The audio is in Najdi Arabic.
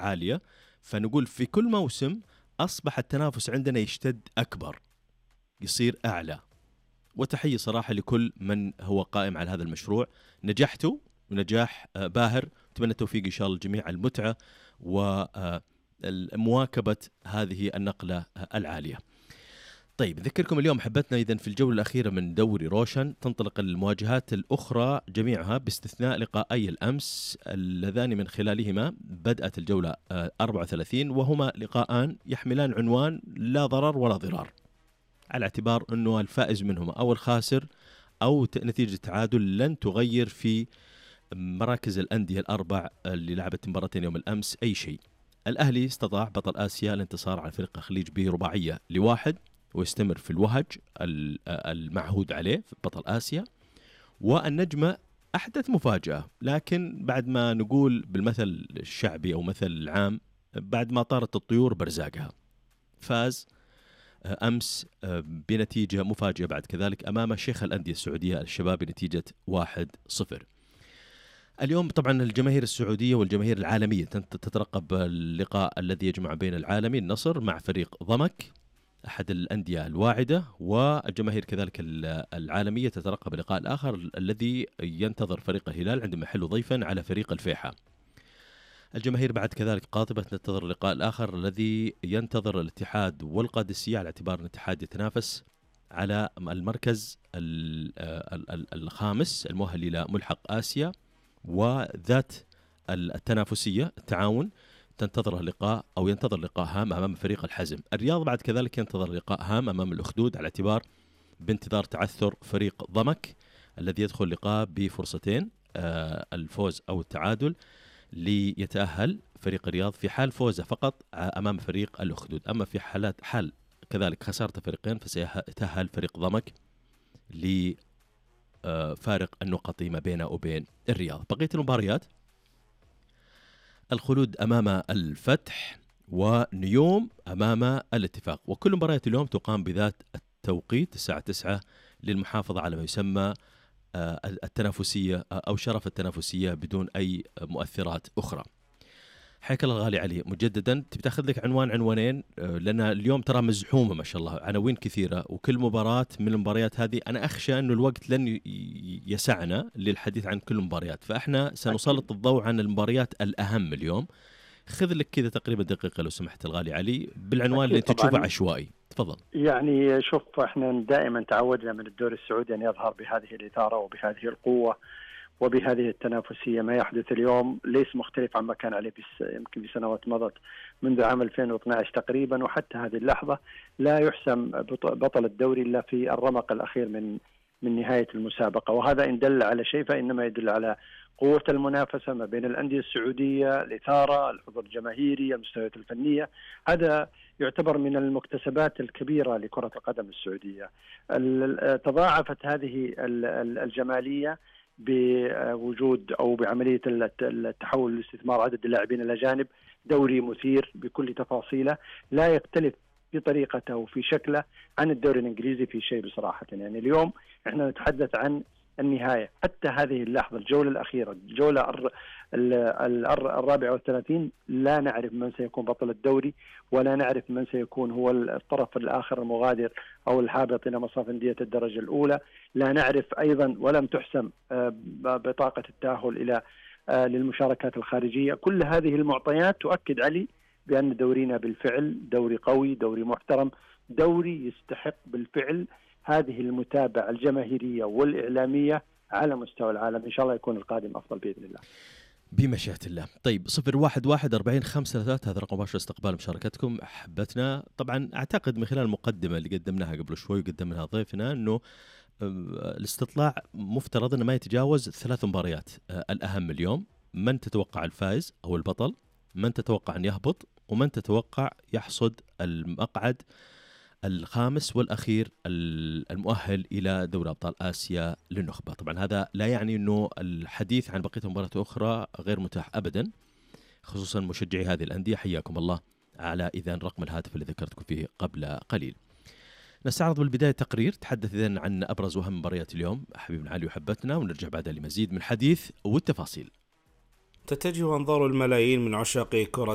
عالية، فنقول في كل موسم أصبح التنافس عندنا يشتد أكبر، يصير أعلى. وتحية صراحة لكل من هو قائم على هذا المشروع، نجحتوا ونجاح باهر. أتمنى التوفيق إن شاء الله الجميع، المتعة ومواكبة هذه النقلة العالية. طيب نذكركم اليوم حبتنا إذن في الجولة الأخيرة من دوري روشن تنطلق المواجهات الأخرى جميعها باستثناء لقاءي الأمس اللذان من خلالهما بدأت الجولة 34، وهما لقاءان يحملان عنوان لا ضرر ولا ضرار، على اعتبار أنه الفائز منهما أو الخاسر أو نتيجة تعادل لن تغير في مراكز الأندية الأربع اللي لعبت مباراتين يوم الأمس أي شيء. الأهلي استطاع بطل آسيا الانتصار على فريق الخليج برباعية ل1، ويستمر في الوهج المعهود عليه في بطل آسيا. والنجمة أحدث مفاجأة، لكن بعد ما نقول بالمثل الشعبي أو مثل العام، بعد ما طارت الطيور برزاقها، فاز أمس بنتيجة مفاجئة بعد كذلك أمام شيخ الأندية السعودية الشباب بنتيجة 1-0. اليوم طبعا الجماهير السعودية والجماهير العالمية تترقب اللقاء الذي يجمع بين العالمي النصر مع فريق ضمك أحد الأندية الواعدة، والجماهير كذلك العالمية تترقب اللقاء الآخر الذي ينتظر فريق الهلال عندما يحل ضيفا على فريق الفيحة. الجماهير بعد كذلك قاطبة تنتظر اللقاء الآخر الذي ينتظر الاتحاد والقادسية، على اعتبار الاتحاد يتنافس على المركز الخامس المؤهل إلى ملحق آسيا، وذات التنافسية التعاون تنتظر لقاء أو ينتظر لقاء هام أمام فريق الحزم. الرياض بعد كذلك ينتظر لقاء هام أمام الأخدود، على اعتبار بانتظار تعثر فريق ضمك الذي يدخل لقاء بفرصتين الفوز أو التعادل ليتأهل فريق الرياض في حال فوزه فقط أمام فريق الأخدود. أما في حال كذلك خسارة فريقين فسيتأهل فريق ضمك لفارق النقط ما بينه وبين الرياض. بقية المباريات الخلود أمام الفتح ونيوم أمام الاتفاق، وكل مباريات اليوم تقام بذات التوقيت الساعة 9 للمحافظة على ما يسمى التنافسية أو شرف التنافسية بدون أي مؤثرات أخرى. حياك الله الغالي علي مجددا. تبي تاخذ لك عنوانين، لأن اليوم ترى مزحومة ما شاء الله، عناوين كثيرة، وكل مباراة من المباريات هذه أنا أخشى أنه الوقت لن يسعنا للحديث عن كل المباريات، فإحنا سنسلط الضوء عن المباريات الأهم اليوم. خذ لك كذا تقريبا دقيقة لو سمحت الغالي علي بالعنوان اللي أنت تشوفه عشوائي، تفضل. يعني شوف، احنا دائما تعودنا من الدوري السعودي أن يظهر بهذه الإثارة وبهذه القوة وبهذه التنافسية. ما يحدث اليوم ليس مختلف عما كان عليه يمكن بسنوات مضت منذ عام 2012 تقريبا، وحتى هذه اللحظة لا يحسم بطل الدوري إلا في الرمق الأخير من نهاية المسابقة. وهذا إن دل على شيء فإنما يدل على قوة المنافسة ما بين الأندية السعودية، الإثارة، الحضور الجماهيري، المستويات الفنية. هذا يعتبر من المكتسبات الكبيرة لكرة القدم السعودية. تضاعفت هذه الجمالية بوجود أو بعملية التحول الاستثمار عدد اللاعبين الأجانب. دوري مثير بكل تفاصيله، لا يختلف في طريقته وفي شكله عن الدوري الإنجليزي في شيء بصراحة. يعني اليوم احنا نتحدث عن النهاية، حتى هذه اللحظة الجولة الأخيرة الجولة 34 لا نعرف من سيكون بطل الدوري، ولا نعرف من سيكون هو الطرف الآخر المغادر أو الهابط إلى مصاف أندية الدرجة الأولى. لا نعرف أيضا، ولم تحسم بطاقة التأهل إلى للمشاركات الخارجية. كل هذه المعطيات تؤكد علي بأن دورينا بالفعل دوري قوي، دوري محترم، دوري يستحق بالفعل هذه المتابعة الجماهيرية والإعلامية على مستوى العالم. إن شاء الله يكون القادم أفضل بإذن الله بمشيئة الله. طيب 01144533 هذا رقم مباشر استقبال مشاركتكم أحبتنا. طبعا أعتقد من خلال المقدمة اللي قدمناها قبل شوي وقدمناها ضيفنا أنه الاستطلاع مفترض أنه ما يتجاوز 3 مباريات الأهم اليوم. من تتوقع الفائز أو البطل، من تتوقع أن يهبط، ومن تتوقع يحصد المقعد الخامس والأخير المؤهل إلى دوري أبطال آسيا للنخبة. طبعا هذا لا يعني أنه الحديث عن بقية المباريات أخرى غير متاح أبدا، خصوصا مشجعي هذه الأندية حياكم الله على إذن رقم الهاتف اللي ذكرتكم فيه قبل قليل. نستعرض بالبداية تقرير تحدث إذن عن أبرز وأهم مباريات اليوم حبيبنا علي وحبتنا، ونرجع بعدها لمزيد من الحديث والتفاصيل. تتجه أنظار الملايين من عشاق كرة